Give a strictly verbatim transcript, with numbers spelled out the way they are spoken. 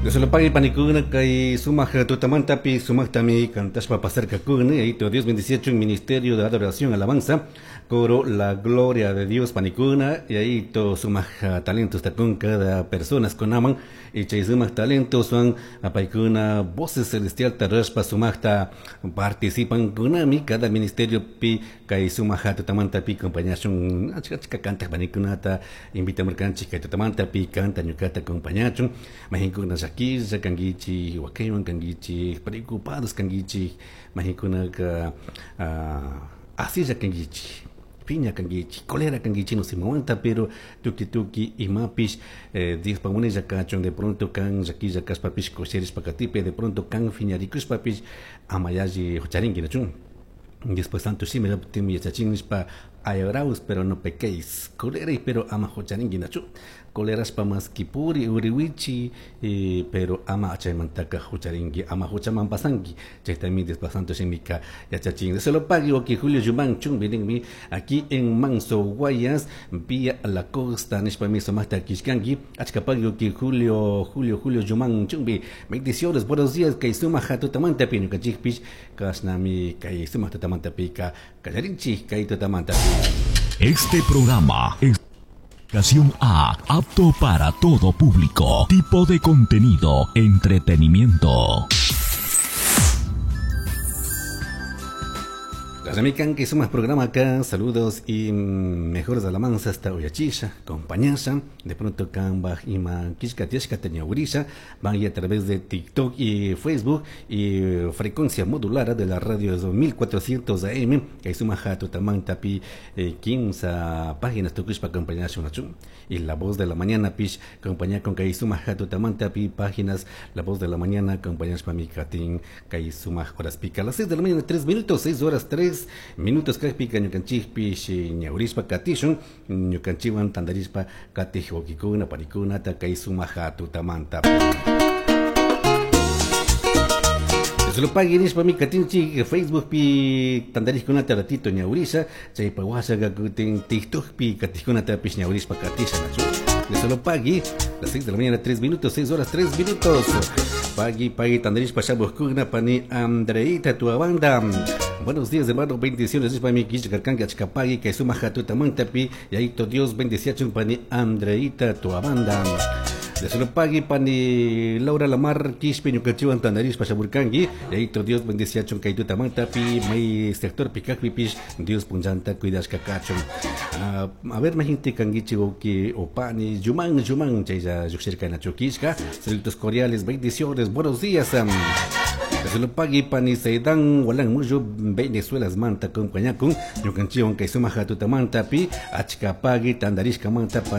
Dios panikuna kay sumaq tutamantapi sumaqtami kantashpa pasarkakuna yayito Dios bendiciachun Ministerio de Adoración Alabanza coro La Gloria de Dios panikuna yayito sumaq talentos takun cada persona kunaman y chay sumaq talentos son apaykuna voces celestial tarashpa sumaqta participan kunami cada ministerio pi kay sumaq tutamantapi acompañachun achka achka kantaq panikunata invitamurkanchik kay tutamantapi kanta ñukata acompañachun mahinkuna llaquilla kankichik wakaywan kankichik preocupados kankichik mahinkunaka asilla kankichik piña kankichik cólera kankichik no se aguanta pero tuki tuki imapish eh, Diospa munaylla kachun de pronto kan llaquilla kashpapish kusirishpa katipi de pronto kan phiñarikushpapish ama yalli hucharinki nachun Después santo shimi timi yachachin nishpa ayoraus pero no pequéis cólera pero ama hucharinki nachu colerashpa mas kipuri uriwichi eh, pero ama chaymantaka hucharinki ama huchaman pasanki chaytami después santo shimika yachachin se lo pague que Julio Yumán chumbi aquí en Manso Guayas vía la costa nishpami sumaqta kishkanki achka pagui que Julio Julio Julio Yumán chumbi bendiciones buenos días kay sumaq tutamantapi ñukanchikpish kashnami kay sumaq tutamantapi kallarinchik kay tutamantapi. Este programa es Ocasión A, apto para todo público, tipo de contenido, entretenimiento. Las que somos programa acá, saludos y mejores alabanzas hasta Uyachisha, compañasa, de pronto Kamba, Ima, Kishka, Tiashka, Teñaurisha, van a través de TikTok y Facebook y frecuencia modular de la radio mil cuatrocientos A M, que suma jato tamán tapi quince páginas tukushpa acompañar y la voz de la mañana pish compañía con que suma jato tamán tapi páginas la voz de la mañana acompañar pa mi katin que suma horas pica a las seis de la mañana tres minutos, seis horas tres minutos kajpika ñukanchikpish ñawrishpa katishun ñukanchikwan tantarishpa katij wawkikuna panikunata kay sumaq tutamanta. Solo pagui nishpami katinchik Facebook pi tantarishkunata ratito ñawrisha chaypa washaqa kutin TikTok pi katijkunatapish ñawrishpa katisha nachu. Solo pagui las seis de la mañana tres minutos, seis horas tres minutos. Pagui pagui tantarishpa shamuqkuna pani Andreita tu banda. Buenos días, hermano, bendiciones. Es para mi Kishkarkanka Chkapagui, que suma jatutamantapi, y ahí to Dios bendiciachun pani Andreita tu banda. De solo pagui pani Laura Lamar Quispe ñukachiwan tandarishpa shamurkanki, y ahí to Dios bendiciachun kaitutamantapi, may sector pikakpipish, Dios punllanta cuidashka kachun. Uh, a ver, majinti kankichi oki opani, yuman yuman, chaylla lluqshirka nachukishka, saludos cordiales, bendiciones, buenos días. Um, Se lo pagui pani Seidan Walan Muyo Venezuela manta compañía con ñukanchiwan kay sumaq tutamantapi achka pagui tandarishka manta pani